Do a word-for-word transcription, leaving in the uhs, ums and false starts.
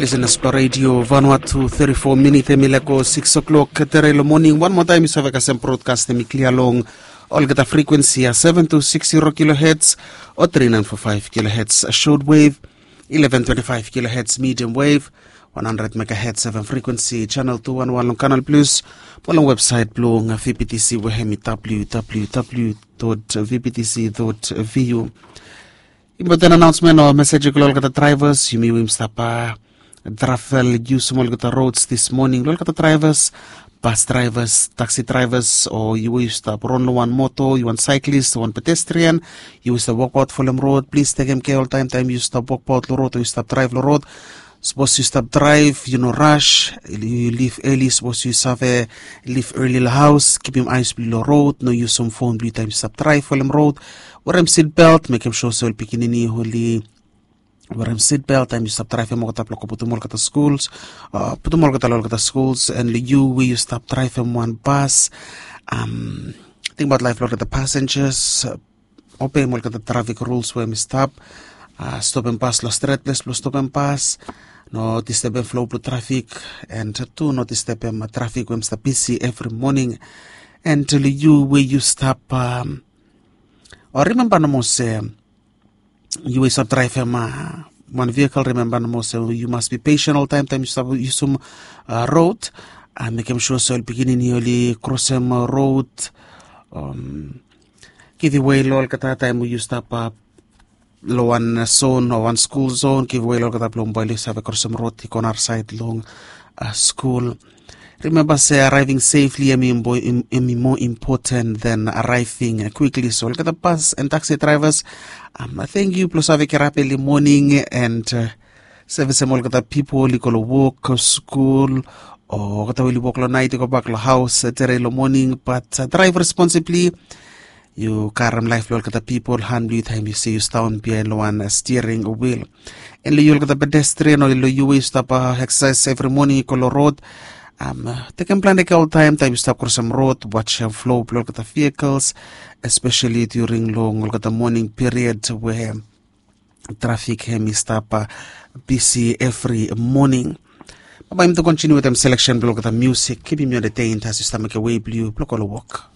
Lisenas blong redio Vanuatu, thirty-four minit em i laik go six o'clock tere long moning. Wan moa taem yu save kasem brodkast em i klia long olgeta frekuensi ya, seven two six zero kilohertz o three nine four five kilohertz short wave, eleven twenty-five kilohertz medium wave, one hundred megahertz seven frekuensi, channel two one one long Canal Plus, mo long websaet blong V B T C we em i www dot V B T C dot V U. Important announcement o mesej i go long olgeta drivers, yumi we yumi stap travel, yusum olgeta roads this morning. Long olgeta drivers, bus drivers, taxi drivers, o yu we yu stap ron long wan moto, yu wan cyclist, wan pedestrian, yu we stap wokbaot folem road, plis tekem kea oltaem taem yu stap wokbaot long road o yu stap draev long road. Sapos yu stap draev, yu no ras, yu lif eli. Sapos yu save lif eli long haos, kipim aes blong yu long road, no yusum fon blong yu taem yu stap draev folem road. Werem seat belt, mekem sua se ol pikinini oli werem seat belt taem yu stap draevem olgeta blong go putum olgeta skuls, putum olgeta long olgeta skuls. And long yu we yu stap draevem wan bas, tingbaot laef blong olgeta passengers, obeim olgeta trafik ruls we em i stap. Stopem bas long stret ples blong stopem bas, no distebem flo blong trafik, and tu no distebem trafik we em i stap bisi evri moning. And long yu we yu stap, o rimemba nomo se yu we yu stap draevem wan vehikel, rimemba nomo se yu mas bi patient oltaem taem yu stap yusum road. Mekem sua se ol pikinini oli krosem road, givim wei long olgeta taem we yu stap long wan zon o wan skul zon, givim wei long olgeta blong bae oli save krosem road i go narasaed long skul. Rimemba se arriving safely em i moa important than arriving quickly. So olgeta bus and taxi drivers, thank yu blong save kirap eli moning and sevisem olgeta pipol i go long wok, skul, o olgeta we oli wok long naet i gobak long haos tere long moning. But draev responsibli. Yu karem laef blong olgeta pipol han blong yu taem yu se yu stap daon biaen long wan stiring wil. And long yu olgeta pedestrian o long yu we yu stap eksasaes evri moning i go long rod, tekem plante kea oltaem taem yu stap krosem rod. Wajem flo blong olgeta vehikels, espeseli during long olgeta moning piriod we trafik hem i stap bisi evri moning. Bae bae yumi tu kontiniu wetem seleksen blong olgeta musik. Kipim yu entertained as yu stap mekem wei blong yu blong go long wok.